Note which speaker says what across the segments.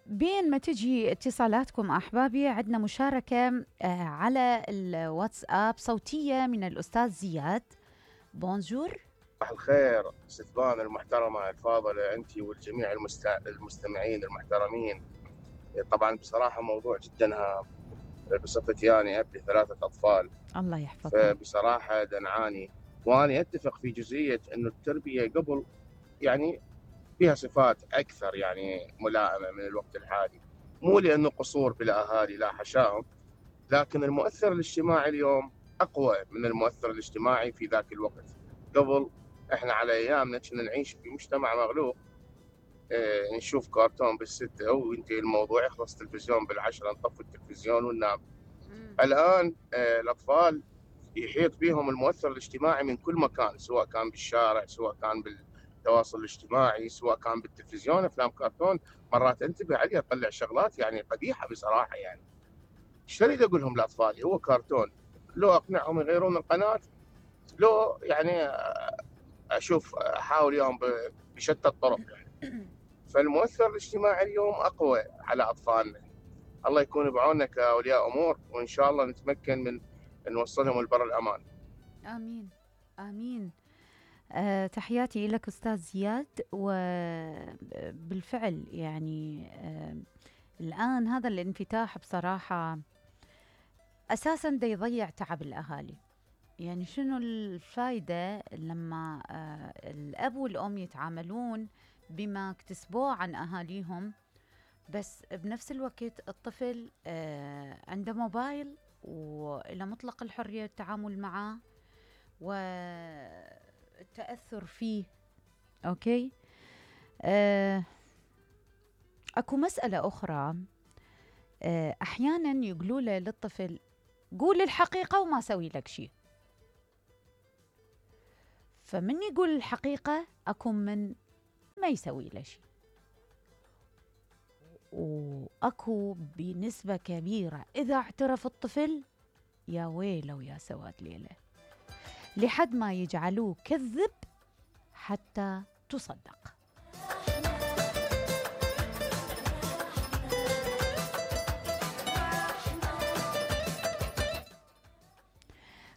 Speaker 1: بين ما تجي اتصالاتكم أحبابي، عندنا مشاركة على الواتساب صوتية من الأستاذ زياد. بونجور.
Speaker 2: صباح الخير ستبان المحترمة الفاضلة أنت والجميع المستمعين المحترمين. طبعا بصراحة موضوع جدا هام. بصفتي أنا أب ل3 أطفال،
Speaker 1: الله يحفظك.
Speaker 2: فبصراحة نعاني، وأنا أتفق في جزئية أنه التربية قبل يعني فيها صفات أكثر يعني ملائمة من الوقت الحالي، مو لأنه قصور بالأهالي لا حشاهم، لكن المؤثر الاجتماعي اليوم أقوى من المؤثر الاجتماعي في ذاك الوقت. قبل احنا على ايامنا كنا نعيش في مجتمع مغلوق، نشوف كرتون بال6 وينتهي الموضوع، يخلص التلفزيون بال10 نطفي التلفزيون وننام. الان الاطفال يحيط بهم المؤثر الاجتماعي من كل مكان، سواء كان بالشارع، سواء كان بالتواصل الاجتماعي، سواء كان بالتلفزيون، افلام كرتون. مرات انتبه عليه اطلع شغلات يعني قبيحه بصراحه. يعني ايش اريد اقول لهم لاطفالي؟ هو كرتون، لو اقنعهم يغيرون القناه، لو يعني اشوف احاول اليوم بشتى الطرق يعني. فالمؤثر الاجتماعي اليوم اقوى على اطفالنا. الله يكون بعوننا كاولياء امور، وان شاء الله نتمكن من نوصلهم البر الامان.
Speaker 1: امين امين. تحياتي لك أستاذ زياد. وبالفعل يعني الآن هذا الانفتاح بصراحة أساساً دا يضيع تعب الأهالي. يعني شنو الفايدة لما الأب والأم يتعاملون بما اكتسبوه عن أهاليهم، بس بنفس الوقت الطفل عنده موبايل وإلى مطلق الحرية التعامل معه والتأثر فيه. أوكي. أكو مسألة أخرى. أحيانا يقولوا له للطفل قول الحقيقة وما سوي لك شيء. فمن يقول الحقيقة أكو من ما يسوي له شيء، وأكو بنسبة كبيرة إذا اعترف الطفل يا ويله ويا سواد ليلة، لحد ما يجعلوه كذب حتى تصدق.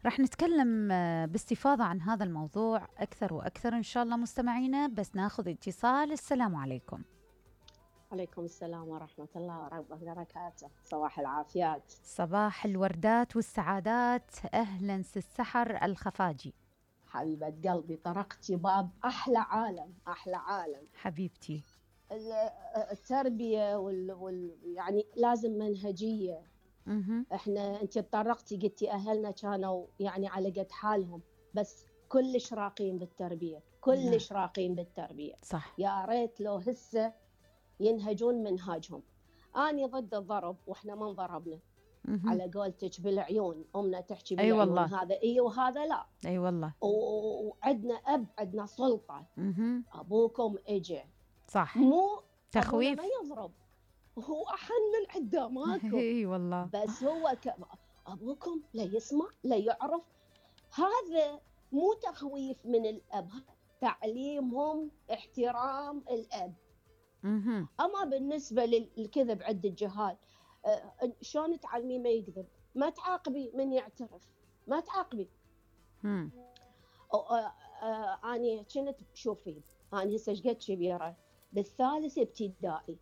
Speaker 1: رح نتكلم باستفاضة عن هذا الموضوع أكثر وأكثر إن شاء الله مستمعينا، بس ناخذ اتصال. السلام عليكم.
Speaker 3: عليكم السلام ورحمة الله وبركاته. صباح العافيات،
Speaker 1: صباح الوردات والسعادات. أهلا سحر الخفاجي.
Speaker 3: حبيبة قلبي، طرقتي باب أحلى عالم، أحلى عالم
Speaker 1: حبيبتي.
Speaker 3: التربية يعني لازم منهجية. احنا انت تطرقتي قلتي اهلنا كانوا يعني على قد حالهم، بس كلش راقين بالتربيه، كلش راقين بالتربيه.
Speaker 1: صح.
Speaker 3: يا ريت لو هسه ينهجون منهاجهم. اني ضد الضرب، واحنا ما انضربنا. على قولتك بالعيون، امنا تحكي بالعيون. والله. هذا اي وهذا لا.
Speaker 1: اي والله.
Speaker 3: وعندنا اب، عندنا سلطه. ابوكم اجى.
Speaker 1: صح.
Speaker 3: مو
Speaker 1: تخويف.
Speaker 3: ما يضرب، هو أحن من قداماكم.
Speaker 1: اي والله.
Speaker 3: بس هو أبوكم لا يسمع لا يعرف. هذا مو تخويف من الأب، تعليمهم احترام الأب. أما بالنسبة للكذب عند الجهال، شلون تعلمي ما يكذب؟ ما تعاقبي من يعترف، ما تعاقبي. أنا كنت شوفي، أنا هسه قد كبيرة بالثالث ابتدائي.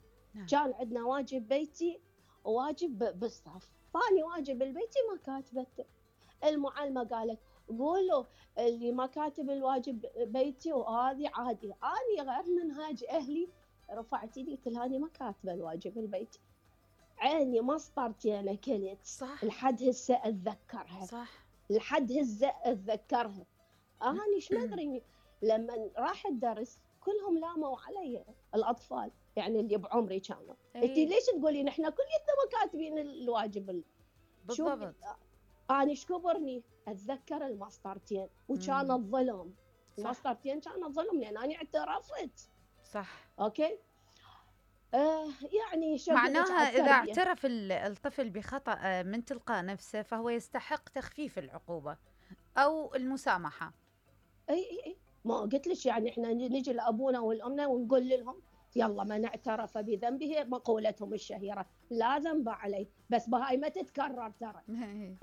Speaker 3: كان عندنا واجب بيتي وواجب بالصف، فاني واجب البيتي ما كاتبته. المعلمة قالت قولوا اللي ما كاتب الواجب بيتي وهذه عادي. اني غير منهاج اهلي، رفعت يدي قلت لها اني ما كاتبه الواجب البيتي. عيني مسطرتي انا كلت.
Speaker 1: صح.
Speaker 3: لحد هسه اتذكرها.
Speaker 1: صح.
Speaker 3: لحد هسه اتذكرها. اني ايش ما ادري، لما راح الدرس كلهم لاموا علي الاطفال، يعني اللي بعمري كانوا. انت ليش تقولين احنا كليتنا ما كاتبين الواجب؟
Speaker 1: بالضبط.
Speaker 3: انا ايش كبرني اتذكر المسطرتين، وكان الظلم. المسطرتين كانت ظلم لان انا اعترفت.
Speaker 1: صح.
Speaker 3: اوكي. يعني
Speaker 1: معناها اذا اعترف الطفل بخطأ من تلقاء نفسه فهو يستحق تخفيف العقوبة او المسامحة.
Speaker 3: اي ما قلت لك يعني احنا نجي لابونا والامنا ونقول لهم يلا من اعترف بذنبه، مقولتهم الشهيرة لا ذنب عليه، بس بهاي ما تتكرر ترى،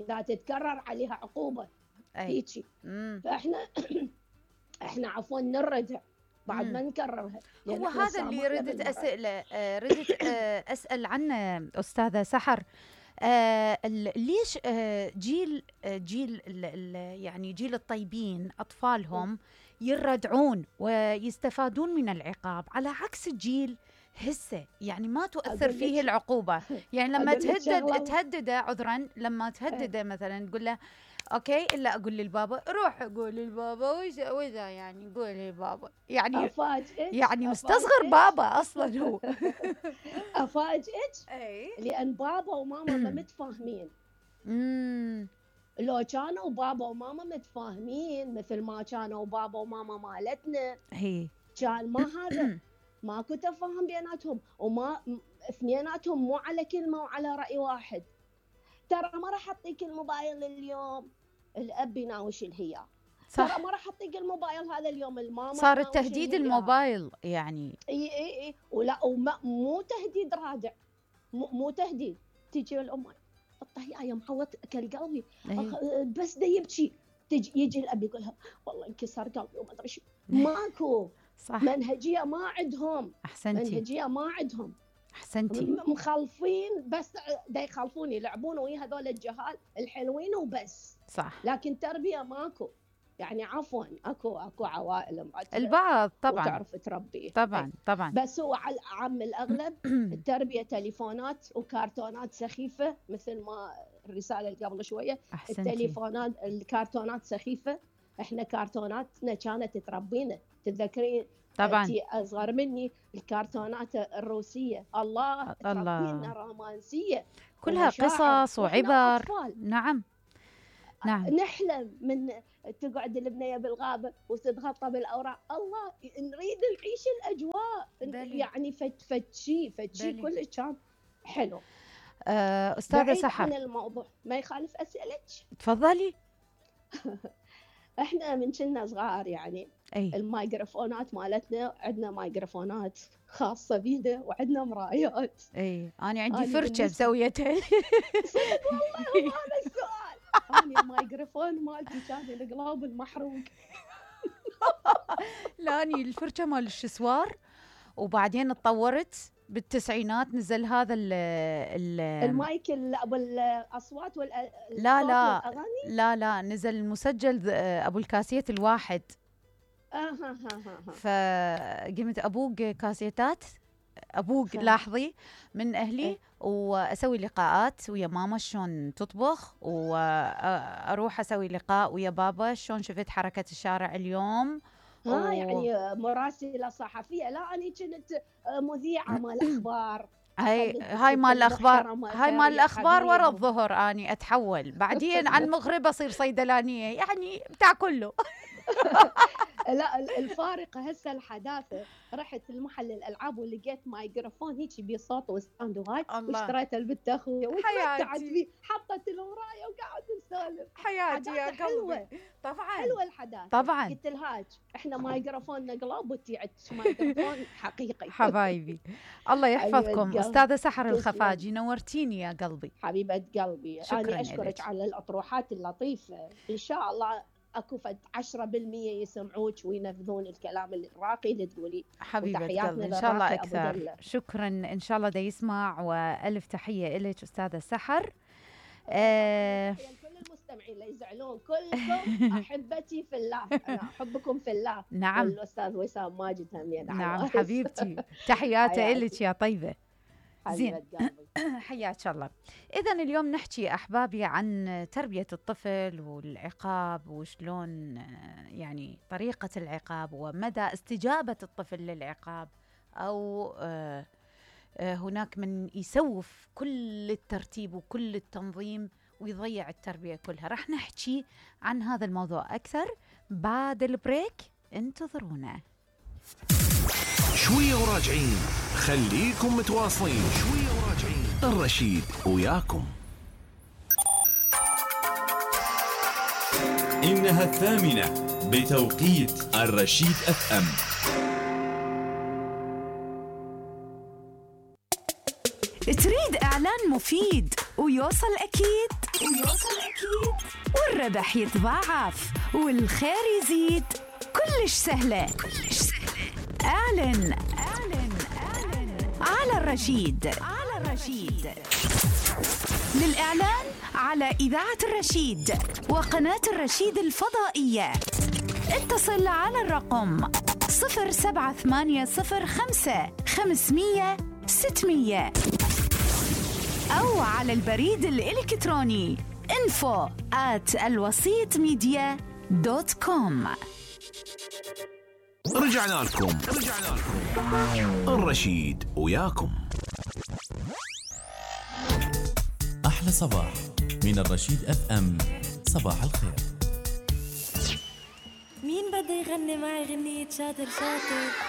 Speaker 3: إذا تتكرر عليها عقوبة هيجي. فإحنا إحنا عفوا نردع بعد ما نكررها.
Speaker 1: هو هذا اللي ردت أسئلة ردت أسأل عنه أستاذة سحر. ليش جيل يعني جيل الطيبين أطفالهم يردعون ويستفادون من العقاب على عكس الجيل هسه يعني ما تؤثر فيه العقوبة؟ يعني لما تهدده عذرا، لما تهدده مثلا تقول له اوكي الا اقول للبابا، روح اقول للبابا واذا يعني قول للبابا، يعني
Speaker 3: افاجئك
Speaker 1: يعني مستصغر بابا اصلا هو.
Speaker 3: افاجئك لان بابا وماما ما متفاهمين. لو كانوا بابا وماما متفاهمين مثل ما كانوا بابا وماما مالتنا، كان ما هذا ماكو تفاهم بيناتهم، وما اثنيناتهم مو على كلمه وعلى راي واحد. ترى ما راح اعطيك الموبايل اليوم، الاب يناوش الهيا. ترى ما راح اعطيك الموبايل هذا اليوم، الماما
Speaker 1: صار التهديد الموبايل يعني.
Speaker 3: اي ولا مو تهديد رادع، مو تهديد. تجي الام طهي يا محوط اكل قلبي بس دا يبكي، يجي الاب يقول لها والله انكسر قلبي وما ادري شو. ماكو
Speaker 1: صح.
Speaker 3: منهجيه ما عندهم.
Speaker 1: احسنتي.
Speaker 3: منهجيه ما عندهم.
Speaker 1: احسنتي.
Speaker 3: مخالفين بس دا يخالفون يلعبون ويا هذول الجهال الحلوين وبس.
Speaker 1: صح.
Speaker 3: لكن تربيه ماكو. يعني عفوا اكو عوائل
Speaker 1: البعض طبعا
Speaker 3: وتعرف تربيه
Speaker 1: طبعا طبعا،
Speaker 3: بس هو على عام الاغلب التربيه تليفونات وكرتونات سخيفه، مثل ما الرساله اللي قبل شويه.
Speaker 1: أحسنتي.
Speaker 3: التليفونات الكرتونات سخيفه. احنا كرتوناتنا كانت تربينا. تتذكرين
Speaker 1: طبعا
Speaker 3: انتي اصغر مني الكرتونات الروسيه الله تربينا رومانسيه
Speaker 1: كلها قصص وعبر. نعم نعم.
Speaker 3: نحلم من تقعد البنية بالغابة وتتغطى بالأوراق، الله نريد نعيش الأجواء بلي. يعني فتشي كل كان حلو.
Speaker 1: أستاذة سحر
Speaker 3: عن الموضوع ما يخالف أسألك.
Speaker 1: تفضلي.
Speaker 3: احنا من كنا صغار يعني الميكروفونات مالتنا، عندنا ميكروفونات خاصة بينا وعندنا مرايات.
Speaker 1: أنا عندي فرشة مسويتها.
Speaker 3: صدق والله هذا السؤال. أنا الميكروفون مالتي كان القلاب المحروق.
Speaker 1: لا أنا الفرشة مال الشسوار، وبعدين اتطورت بالتسعينات نزل هذا
Speaker 3: المايك ابو الاصوات
Speaker 1: لا نزل المسجل ابو الكاسيت الواحد. فقمت ابوق كاسيتات، ابوق لاحظي من اهلي واسوي لقاءات ويا ماما شلون تطبخ، واروح اسوي لقاء ويا بابا شلون شفت حركة الشارع اليوم.
Speaker 3: يعني مراسلة صحفية. لا أنا كنت مذيعة مال الأخبار.
Speaker 1: هاي مال الأخبار، هاي مال الأخبار ورا الظهر أني أتحول بعدين على المغرب أصير صيدلانية، يعني بتاع كله.
Speaker 3: لا الفارقة هسه الحداثة. رحت المحل الألعاب ولقيت مايكروفون هيك بصوت وستاند وهاي، واشتريته لبنت أخويا وتمتعت فيه، حطت المراية وقعدت نسولف.
Speaker 1: حياتي يا
Speaker 3: حلوة
Speaker 1: طبعا،
Speaker 3: حلوة الحداثة
Speaker 1: طبعا.
Speaker 3: قلت لهاج احنا مايكروفوننا قلاب وتيعت مايكروفون حقيقي.
Speaker 1: حبايبي الله يحفظكم. أستاذة سحر الخفاجي نورتيني يا قلبي.
Speaker 3: حبيبة قلبي. أنا أشكرك على الأطروحات اللطيفة. إن شاء الله اكو 10% يسمعوك وينفذون الكلام الراقي اللي تقولي.
Speaker 1: حبيبة قلبي ان شاء الله اكثر. شكرا ان شاء الله دا يسمع، والف تحية لك استاذة سحر.
Speaker 3: كل المستمعين لا يزعلون، كلكم احبتي في الله، انا احبكم في الله.
Speaker 1: نعم.
Speaker 3: والاستاذ وسام ماجد همين.
Speaker 1: نعم حبيبتي، تحياتي لك يا طيبة.
Speaker 3: زين
Speaker 1: حياك الله. إذا اليوم نحكي أحبابي عن تربية الطفل والعقاب، وشلون يعني طريقة العقاب ومدى استجابة الطفل للعقاب، أو هناك من يسوف كل الترتيب وكل التنظيم ويضيع التربية كلها. رح نحكي عن هذا الموضوع أكثر بعد البريك، انتظرونا.
Speaker 4: شوية وراجعين، خليكم متواصلين. شوية وراجعين، الرشيد وياكم.
Speaker 5: إنها 8 بتوقيت الرشيد FM. تريد إعلان مفيد ويوصل أكيد والربح يتضاعف والخير يزيد. كلش سهلة. اعلن على الرشيد. للإعلان على إذاعة الرشيد وقناة الرشيد الفضائية اتصل على الرقم 07805 500 600 أو على البريد الإلكتروني info@alwasitmedia.com.
Speaker 4: رجعنا لكم الرشيد وياكم.
Speaker 6: أحلى صباح من الرشيد FM. صباح الخير.
Speaker 7: مين بده يغني معي غنية شاطر شاطر؟